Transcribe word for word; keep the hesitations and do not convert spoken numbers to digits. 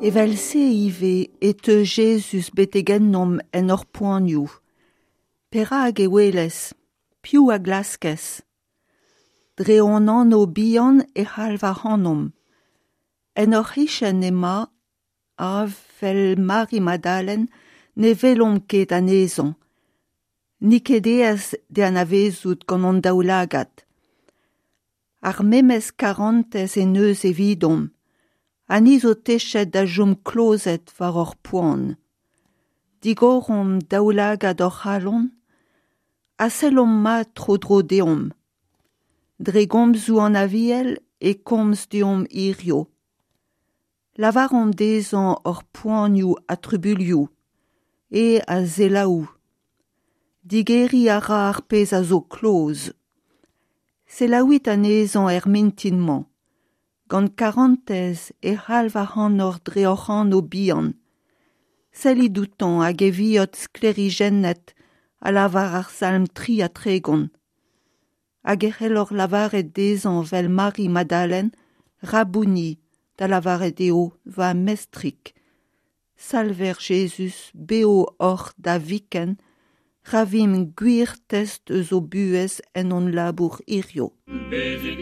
Evel-se ivez e teu Jezuz betek ennomp en hor poanioù. Perak e ouelez ? Piv a glaskez ? Dre hon anv bihan e c'halv ac'hanomp. En hor c'hichen emañ, ha, 'vel Mari Madalen, ne welomp ket anezhañ. N'eo ket aes d'e anavezout gant hon daoulagad. Ar memes karantez en deus evidomp, ha ni zo techet da chom klozet war hor poan. Digoromp daoulagad hor c'halon ha sellomp mat tro-dro deomp. Dre gomzoù an Aviel e komz deomp hiziv. Lavaromp dezhañ hor poanioù ha trubuilhoù, eñ a selaou. Digeriñ a ra ar pezh a zo kloz. Selaouit anezhañ er mintin-mañ. Gant karantez e c'halv ac'hanoc'h dre hoc'h anv bihan. Sellit outañ hag e viot sklêrijennet, a lavar ar Salm tri ha tregont. Hag e c'helloc'h lavaret dezhañ 'vel Mari Madalen, Rabouni, da lavaret eo va mestrig. Salver Jezuz, bev oc'h da viken, ra vimp gwir test eus ho buhez en hon labour hiziv. Bezit